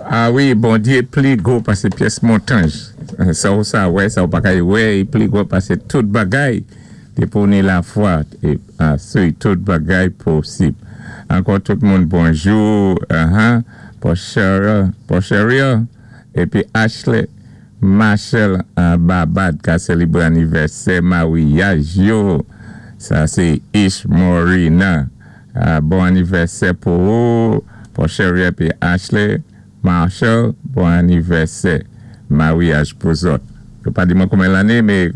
A wi, Bondyé pli gwo pasé pyès montanj. Sa ou sa wè, sa ou pa kay wè, i pli gwo pasé tout bagay. Dépi ou ni lafwa, é tout bagay posib. Ankò tout moun bonjou, Porcheria, épi Ashley Marshall Babad ka sélébwé anivèsè mawyaj yo. Sa sé Ish Morina. Bon anivèsè pou ou, Porcheria épi Ashley Marshall, bon anivèsè mawyaj pou zòt. Yo pa di mwen konbyen lanné, mé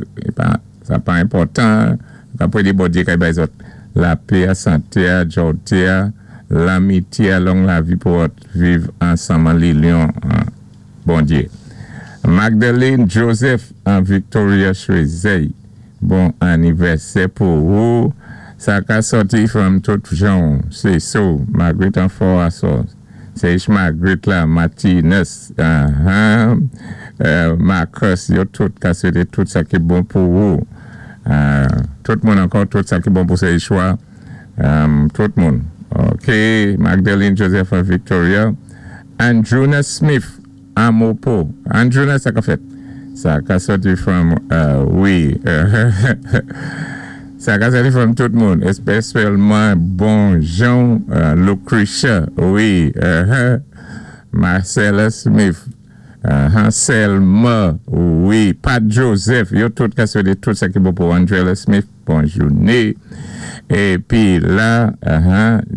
sa pa enpòtan. Ka pwédé Bondyé kay bay zòt lapé a, santé a, djòwté a, lanmityé a, long lavi pou zòt viv ansanm an linyon Bondyé. Magdalene Joseph an Victoria Choisey, bon anivèsè pou ou. Sa ka sòti from tout jan sé so Margaret an fò asò. Sé ich Margaret la, Martinez, Marcus, yo tout ka swété tout sa ki bon pou ou. Tout moun ankò, tout sa ki bon pou sé Ishwa. Tout moun. Ok, Magdalene Joseph an Victoria. Andruna Smith Amopo. Andruna, sa ka fèt? Sa ka sòti from, wi. Sa ka sòti from tout moun. Espésyalman bon jan Lucretia, wi. Marcella Smith. Selma, wi. Pat Joseph, yo tout ka swété tout sa ki bon pou Angela Smith. Bon jouné. Épi la,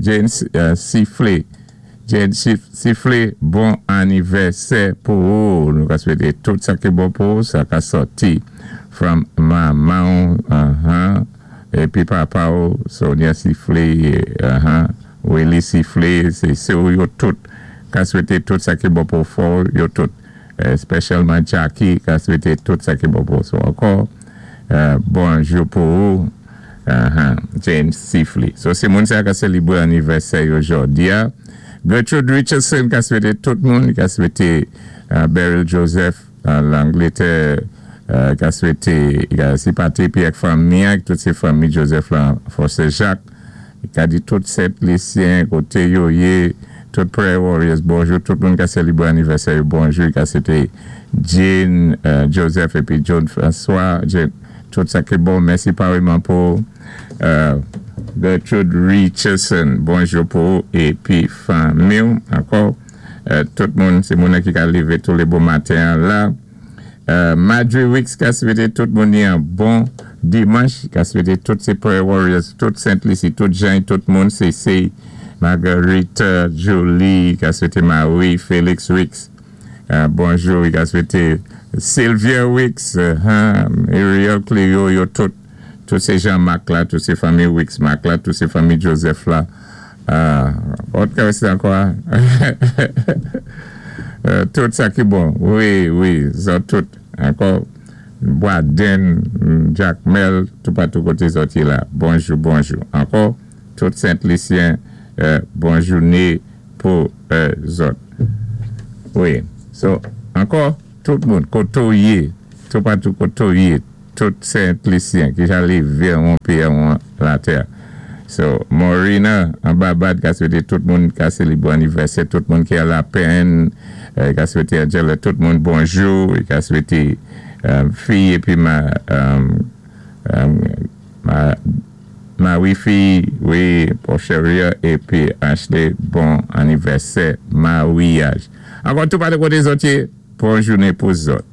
James Siflé. Jane Siflé, bon anivèsè pou ou. Nou ka swété tout sa ki bon pou ou, sa ka sòti from manman épi papa ou, Sonia Siflé, Willy Siflé, sé sè ou yo tout ka swété tout sa ki bon pou fò yo tout. Espésyalman Jackie ka swété tout sa ki bon pou ou. Ankò, bonjou pou ou. James Sifley. So, sé moun sa ka sélébwé anivèsè yo jòdi a. Gertrude Richardson ka swété tout moun, ka swété Beryl Joseph Langlétè, ka swété si pati ak fanmi, tout sé fanmi Joseph la, Force Jacques, ka di tout Sent Lisyen, koté yo yé, tout Prayer Warriors, bonjou, tout moun ka sélébwé anivèsè, bonjou, ka swété Jane Joseph épi John François, Jane, tout sa ki bon, mèsi pareman pou Gertrude Richardson, bonjou pou ou épi fanmi ankò, tout moun, sé moun ki ka lévé tou lé bon maten la. Madry Wicks ka swété tout moun yon bon dimanch, ka swété tout sé Prayer Warriors, tout Saint-Lucie, tout Jean, tout moun, CC, Marguerite, Julie, ka swété Marie, Félix Wicks, bonjou, ka swété Sylvia Wicks, Muriel Clio, yo tout, tout sé Jean-Marc la, tout sé fanmi Wicks Marc la, tout sé fanmi Joseph la. Òt ka sé ankò? Tout sa ki bon, wi, zòt tout, ankò, Boisden, Jacmel, tout patou koté zòt yé la, bonjou, bonjou. Ankò, tout Sent-Lisyen, bon jouné pou zòt. Wi, so, ankò, tout moun, koté ou yé, tout patou koté ou yé, tout Sent-Lisyen ki ja lévé an pyé an latè. So, Morina, an Babad, ka swété tout moun ka sélébwé anivèsè, tout moun ki a Lapèn, ka swété Angela, tout moun bonjou, ka swété fi épi ma wifi, wi, Porcheria, épi Ashley, bon anivèsè, mawyaj. Ankò tout patou koté zòt yé, bon jouné pou zòt.